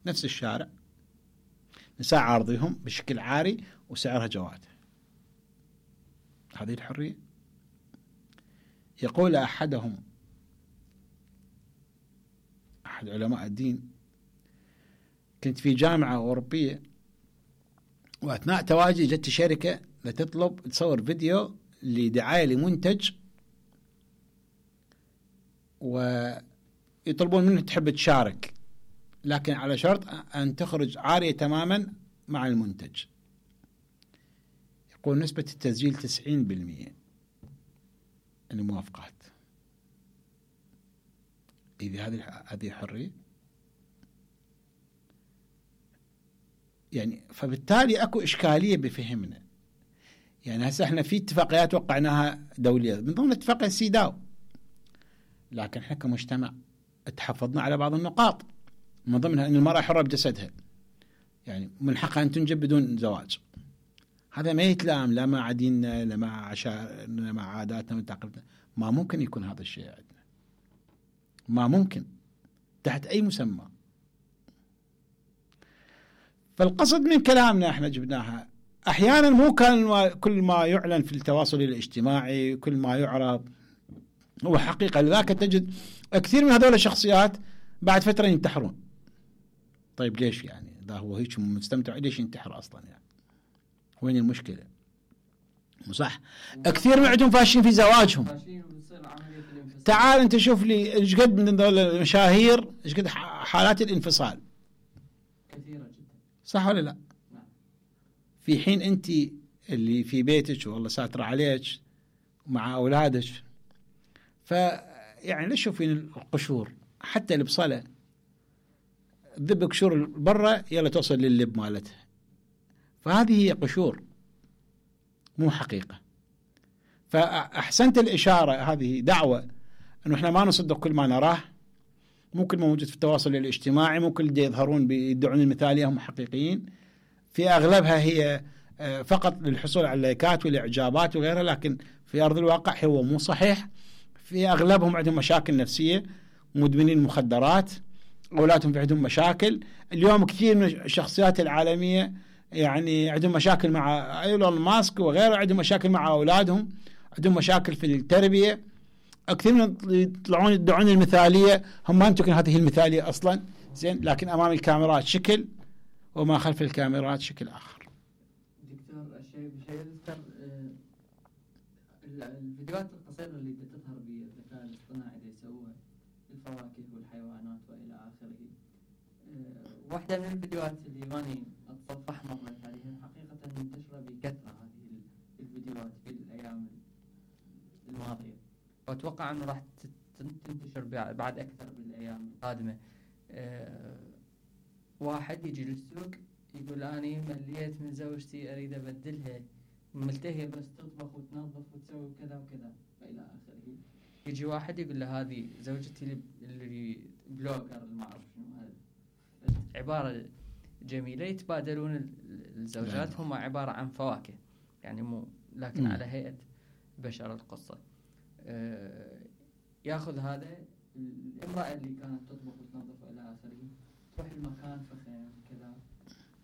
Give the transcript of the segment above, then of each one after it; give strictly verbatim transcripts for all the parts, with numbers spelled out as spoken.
نفس الشارع، نساء عارضيهم بشكل عاري وسعرها جواد. هذه الحرية. يقول أحدهم، أحد علماء الدين: كنت في جامعة أوروبية، وأثناء تواجدي جت شركة لتطلب تصور فيديو لدعاية لمنتج، ويطلبون منه تحب تشارك، لكن على شرط أن تخرج عارية تماما مع المنتج. يقول نسبة التسجيل تسعين بالمئة الموافقات. إذا هذه هذه حرية يعني. فبالتالي أكو إشكالية بفهمنا. يعني هسه احنا في اتفاقيات وقعناها دولية من ضمن اتفاقية سيداو، لكن احنا كمجتمع تحفظنا على بعض النقاط، من ضمنها أن المرأة حرة بجسدها، يعني من حقها أن تنجب بدون زواج. هذا ما يتلائم لا مع ديننا لا مع عشائرنا لا مع عاداتنا وتقاليدنا. ما ممكن يكون هذا الشيء عندنا، ما ممكن تحت أي مسمى. فالقصد من كلامنا احنا جبناها أحيانا مو كان كل ما يعلن في التواصل الاجتماعي كل ما يعرض هو حقيقة. لذلك تجد كثير من هذول الشخصيات بعد فترة ينتحرون. طيب ليش يعني؟ إذا هو هيك مستمتع ليش ينتحر أصلا يعني؟ وين المشكلة؟ صح، كثير من عندهم فاشين في زواجهم. تعال أنت شوف لي إيش قد من هذول المشاهير إيش قد حالات الانفصال كثيرة جدا، صح ولا لا؟ نعم. في حين أنت اللي في بيتك والله ساتر عليك مع أولادك، فيعني ليش شوفين القشور حتى البصلة ذب قشور برا يلا توصل لللب مالتها. فهذه هي قشور مو حقيقة. فأحسنت الإشارة، هذه دعوة أنه إحنا ما نصدق كل ما نراه، مو كل ما موجود في التواصل الاجتماعي، مو كل دي يظهرون بيدعون المثالية هم حقيقيين. في أغلبها هي فقط للحصول على اللايكات والإعجابات وغيرها، لكن في أرض الواقع هو مو صحيح. في أغلبهم عندهم مشاكل نفسية، مدمنين مخدرات، أولادهم عندهم مشاكل. اليوم كثير من الشخصيات العالمية يعني عندهم مشاكل مع إيلون ماسك وغيره، عندهم مشاكل مع أولادهم، عندهم مشاكل في التربية. كثير من يطلعون يدعون المثالية، هم ما يمكن هذه المثالية أصلا زين، لكن أمام الكاميرات شكل وما خلف الكاميرات شكل آخر. دكتور الشيء بشيء يذكر الفيديوهات القصيرة اللي تظهر بالذكاء الاصطناعي اللي يسووها الفواكه والحيوانات وإلى آخره. واحدة من الفيديوهات اللي ماني أتصفح مرت عليها حقيقة منتشرة بكثرة هذه الفيديوهات في الأيام الماضية، وأتوقع أنه راح تنتشر بعد أكثر بالأيام القادمة. أه واحد يجي للسوق يقول أني مليت من زوجتي أريد أبدلها، ملتهية بس تطبخ وتنظف وتسوي كذا وكذا وإلى آخره. يجي واحد يقول له هذه زوجتي اللي بلوجر ما أعرف شنو هذا، عبارة جميلة. يتبادلون الزوجات هم عبارة عن فواكه يعني مو لكن م. على هيئة بشر القصة. أه ياخذ هذا الامرأة اللي كانت تطبخ وتنظف إلى آخره، تروح المكان فخم كذا،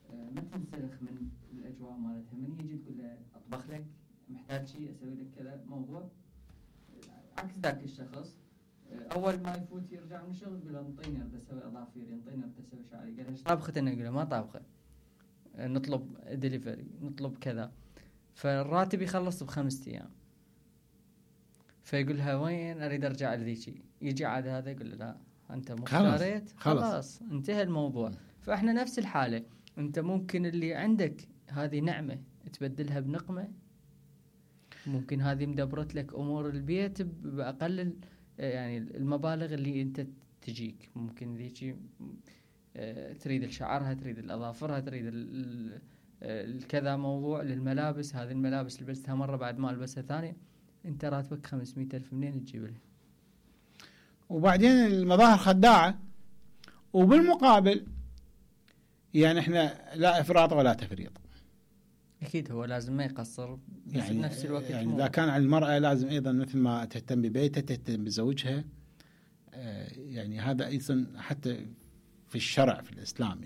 أه ما تنسلخ من الأجواء مالتها. من يجي تقول له أطبخ لك، محتاج شيء أسوي لك كذا موضوع، عكس ذاك الشخص اول ما يفوت يرجع من الشغل يقول انطيني اريد اسوي اظافير، انطيني اريد اسوي شعري. قال ايش طابخه؟ انا اقول له ما طابخه، نطلب ديليفري نطلب كذا. فالراتب يخلص بخمسة ايام، فيقول لها وين اريد ارجع لذيك. يجي عاد هذا يقول له لا انت مو اشتريت خلاص. خلاص انتهى الموضوع. فاحنا نفس الحاله، انت ممكن اللي عندك هذه نعمه تبدلها بنقمه، ممكن هذه مدبرت لك امور البيت باقل يعني المبالغ اللي انت تجيك. ممكن ذيك تريد شعرها، تريد الاظافرها، تريد الكذا موضوع للملابس. هذه الملابس لبستها مره بعد ما البسها ثانيه، انت راتبك خمسمية ألف منين تجيب لها؟ وبعدين المظاهر خداعه. وبالمقابل يعني احنا لا افراط ولا تفريط. اكيد هو لازم ما يقصر، بس يعني بنفس الوقت يعني اذا كان على المرأة لازم ايضا مثل ما تهتم ببيتها تهتم بزوجها. يعني هذا ايضا حتى في الشرع في الاسلام.